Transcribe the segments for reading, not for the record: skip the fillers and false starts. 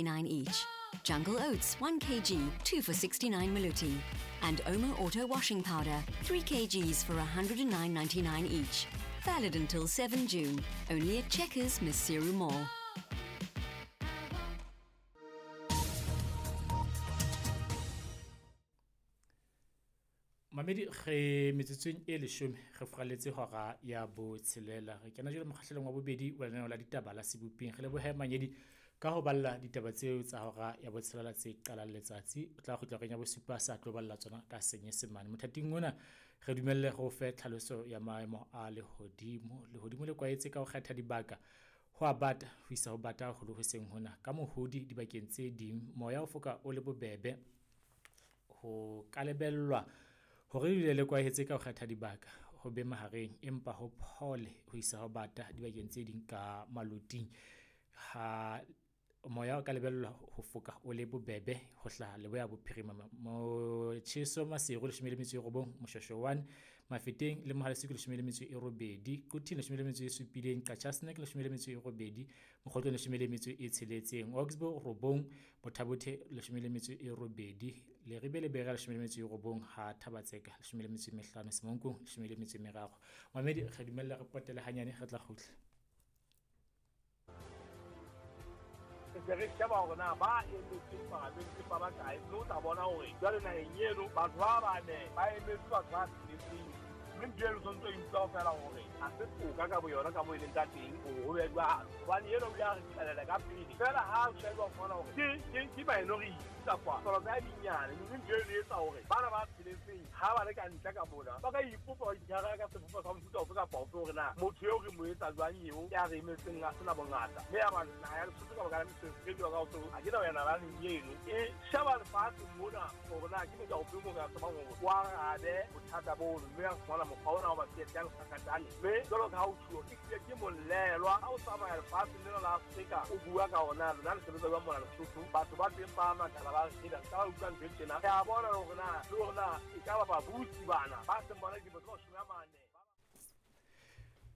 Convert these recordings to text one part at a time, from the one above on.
9 each. Jungle Oats 1 kg, 2 for 69 Maluti. And Omo Auto Washing Powder, 3 kgs for 109.99 each. Valid until 7 June. Only at Checkers, Maseru Mall. Mamedi re metsotsong e 10 re furaletse hora ya botshelela. Re kena jwale mokgahlelong wa bobedi wa lenaneo la ditaba la Seboping. Re lebohe Manyedi ka ho balla ditaba tseo tsa hora ya botshelela tse qalang letsatsi. O tla kgutla reng ya bosupa sa tlo balla tsona ka Senyesemane. Mothating ona re dumelle go fe tlhaloso ya maemo a lehodimo. Lehodimo le kwaetse ka ho kgetha dibaka ho a bata ho isa ho bata haholo hoseng hona. Ka mohodi dibakeng tse ding moya o foka o le bobebe ho ka lebellwa hore le le kwahetse ka ho kgetha dibaka ho be mahareng empa ho phole ho isa ho bata dibakeng tse ding ka maloting. Ha moya o ka lebellwa ho foka o le bobebe ho hlaha leboya bophirima. Motjheso Maseru 19, Moshweshwe 1, Mafeteng le Mohale's Hoek 18, Quthing 17, Qacha's Nek 18, Mokhotlong 16, Oxbow 9, Botha-Bothe 18, Leribe le Berea 19, ha Thabatseka 15, Semonkong 13. Mamedi re dumella re potele hanyane re tla kgutla. Se re sheba hore na ba emetse palamente ba bakae, mme o tla bona hore jwale naheng eno batho ba bane ba emetse batho ba tsheletseng, mme ntho eno tshwanetse o utlwa feela hore ha se toka ka boyona ka moo e leng ka teng hore ho be jwalo, hobane eno o ile a re qhelela ka pele feela. Ha o sheba o fumana hore ke minority kapa palo tsa dinyane, mme ntho eno e etsa hore bana ba tsheletseng ha ba le ka ntle ka mona ba ka ipopa ba itshwara ka sebopo sa mofuta ofe kapa ofe hore na motho eo re mo etsa jwang eo ya re emetseng a sena bongata. Mme ya ba naha ya Lesotho ka baka la mesebetsi e ka ho ha ke na wena ba leng eno e sheba lefatshe mona hore na ke motho ofe mo ka tsebang hore wa arabe bothata bono, mme ya fumana mokgwa ona wa ba yang sakatane. Mme jwalo ka ha o tjhuo ke hlile ke molelwa ha o tsamaya lefatsheng lena la Afrika o bua ka ona lona le sebetsa jwang mona Lesotho, batho ba teng ba makala ba re ka ba utlwa ntho e tjena. Re a bona hore na le hore na e ka ba babusi bana ba seng bona dilemo tse 40.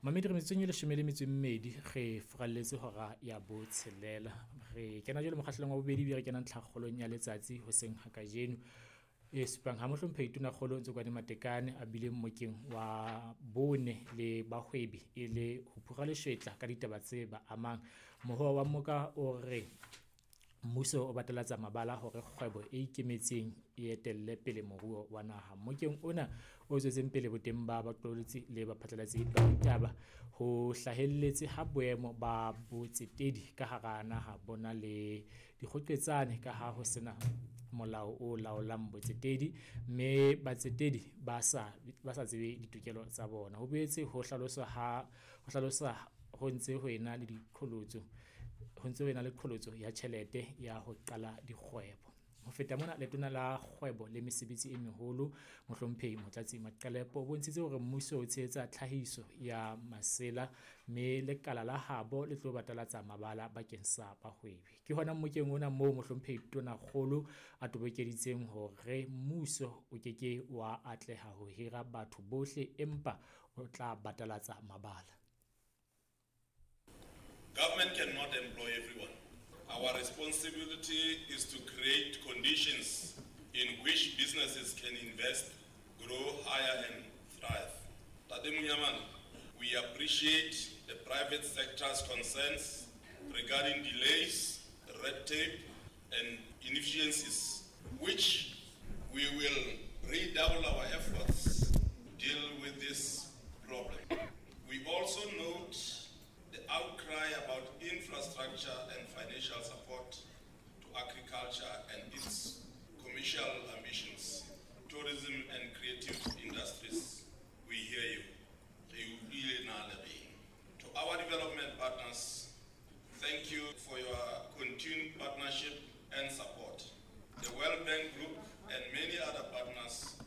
Mamedi re metsotsong e 12 re furaletse hora ya botshelela. Re kena jwale mokgahlelong wa bobedi ebile re kena ntlhakgolong ya letsatsi hoseng ha kajeno e supang ha mohlomphehi Tonakgolo Ntsokoane Matekane a bile mmokeng wa bone le bahwebi e le ho phura leshwetla ka ditaba tse ba amang. Mohoa wa mmoka o re mmuso o batalatsa mabala hore kgwebo e ikemetseng e etelle pele moruo wa naha. Mmokeng ona o tswetseng pele boteng ba baqolotsi le baphatlalatsi ba ditaba ho hlahelletse ha boemo ba botsetedi ka hara naha bona le dikgoqetsane ka ha ho sena molao o laolang botsetedi, mme batsetedi ba sa tsebe ditokelo tsa bona. Ho boetse ho hlalosa ho ntse ho ena le diqholotso ho ntse ho ena le qholotso ya tjhelete ya ho qala dikgwebo. Ho feta mona, letona la kgwebo le mesebetsi e meholo mohlomphehi Motlatsi Maqelepo o bontshitse hore mmuso o tshehetsa tlhahiso ya masela mme lekala la habo le tlo batalatsa mabala bakeng sa bahwebi. Ke hona mmokeng ona moo mohlomphehi Tonakgolo a tobokeditseng hore mmuso o ke ke wa atleha ho hira batho bohle empa o tla batalatsa mabala. Government cannot employ everyone. Our responsibility is to create conditions in which businesses can invest, grow higher and thrive. Tate Monyamane, we appreciate the private sector's concerns regarding delays, red tape and inefficiencies, which we will redouble our efforts to deal with this problem. We also note the outcry about infrastructure and financial support to agriculture and its commercial ambitions, tourism and creative industries. We hear you. To our development partners, thank you for your continued partnership and support. The World Bank Group and many other partners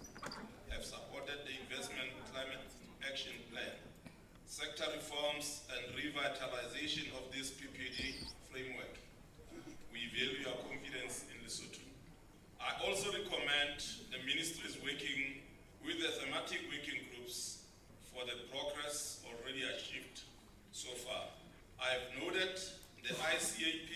have supported the Investment Climate Action Plan, sector reforms and revitalization of this PPD framework. We value your confidence in Lesotho. I also recommend the ministries working with the thematic working groups for the progress already achieved so far. I have noted the ICAP